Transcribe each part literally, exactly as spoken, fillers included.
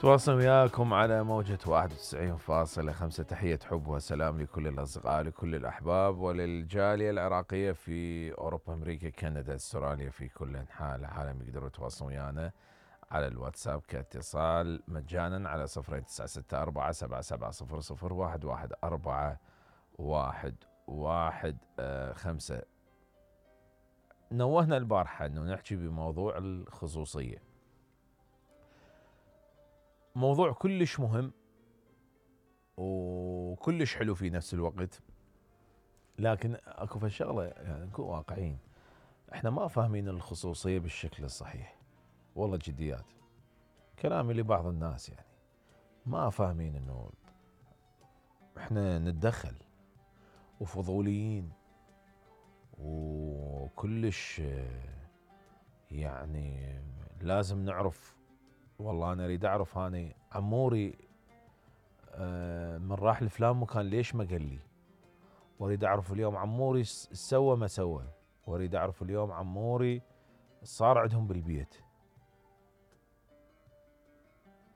تواصل وياكم على موجة واحد وتسعين فاصلة خمسة. تحية حب وسلام لكل الأصدقاء، لكل الأحباب، وللجالية العراقية في أوروبا، أمريكا، كندا، استراليا، في كل أنحاء العالم. يقدروا يتواصلون ويانا على الواتساب كاتصال مجانا على صفر تسعة ستة أربعة سبعة سبعة صفر صفر واحد واحد أربعة واحد واحد خمسة. نوهنا البارحة أنه نحكي بموضوع الخصوصية، موضوع كلش مهم وكلش حلو في نفس الوقت، لكن اكو فشغله يعني نكون واقعيين، احنا ما فاهمين الخصوصيه بالشكل الصحيح. والله جديات كلامي لبعض الناس، يعني ما فاهمين انه احنا نتدخل وفضوليين وكلش يعني لازم نعرف. والله انا اريد اعرف هاني عموري من راح لفلان مكان ليش ما قال لي، واريد اعرف اليوم عموري سوى ما سوى، واريد اعرف اليوم عموري صار عندهم بالبيت،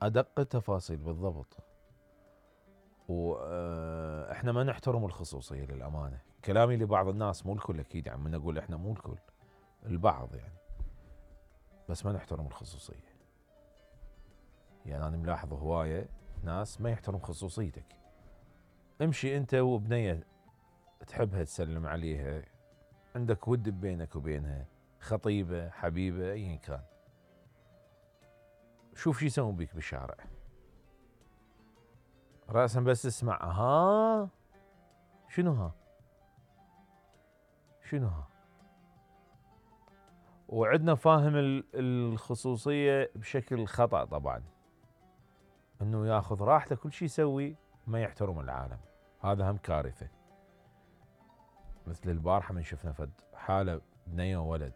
ادق التفاصيل بالضبط. واحنا ما نحترم الخصوصيه للامانه، كلامي لبعض الناس مو الكل اكيد، يعني من اقول احنا مو الكل، البعض يعني، بس ما نحترم الخصوصيه. يعني انا ملاحظ هوايه ناس ما يحترم خصوصيتك. امشي انت وبنيه تحبها تسلم عليها، عندك ود بينك وبينها، خطيبه حبيبه ايا كان، شوف شو يسوون بيك بالشارع، راسا بس تسمع ها شنو ها شنو ها. وعندنا فاهم الخصوصيه بشكل خطا طبعا، انه ياخذ راحته كل شيء يسوي، ما يحترم العالم. هذا هم كارثه. مثل البارحه من شفنا فد حاله بنيه وولد،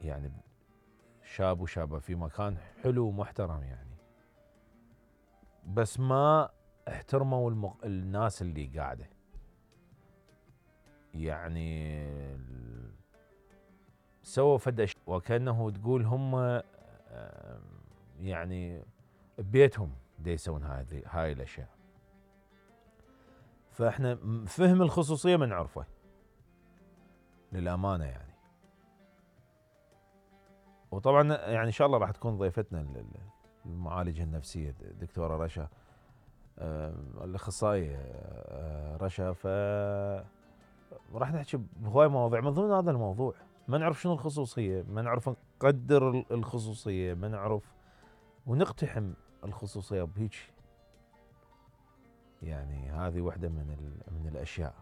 يعني شاب وشابه في مكان حلو ومحترم يعني، بس ما احترموا المق... الناس اللي قاعده، يعني سووا فد وكانه تقول هم يعني ببيتهم دي يسوون هاي هاي الاشياء. فاحنا فهم الخصوصيه ما نعرفه للامانه يعني. وطبعا يعني ان شاء الله راح تكون ضيفتنا المعالجه النفسيه دكتوره رشا، الاخصائيه رشا، ف راح نحكي بهواي مواضيع. من ضمن هذا الموضوع ما نعرف شنو الخصوصيه، ما نعرف نقدر الخصوصيه، ما نعرف ونقتحم الخصوصيه بهيك. يعني هذه واحده من من الاشياء.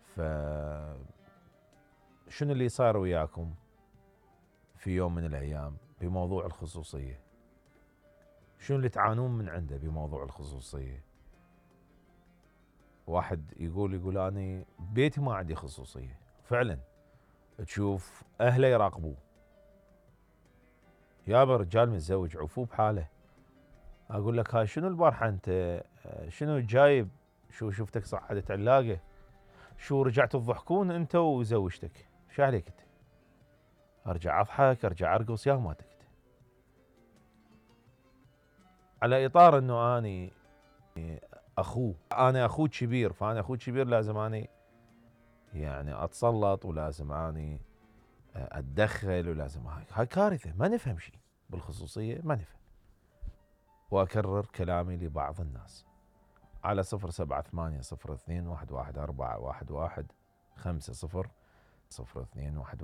ف شنو اللي صار وياكم في يوم من الايام بموضوع الخصوصيه؟ شنو اللي تعانون من عنده بموضوع الخصوصيه؟ واحد يقول يقول اني بيتي ما عندي خصوصيه، فعلا تشوف اهله يراقبوه، يابا رجال متزوج عفوه بحاله. اقول لك هاي شنو البارحه انت شنو جايب، شو شفتك صعدت علاقه، شو رجعت تضحكون انت وزوجتك، شو عليك انت؟ ارجع اضحك ارجع ارقص يا ماتك. على اطار انه اني اخوه، انا اخوه كبير، فانا اخوه كبير لازم اني يعني اتسلط، ولازم اني اتدخل، ولازم هاي هاي كارثه. ما نفهم شيء بالخصوصيه، ما نفهم. واكرر كلامي لبعض الناس على صفر سبعة ثمانية صفر اثنين واحد واحد أربعة واحد واحد خمسة صفر صفر اثنين واحد واحد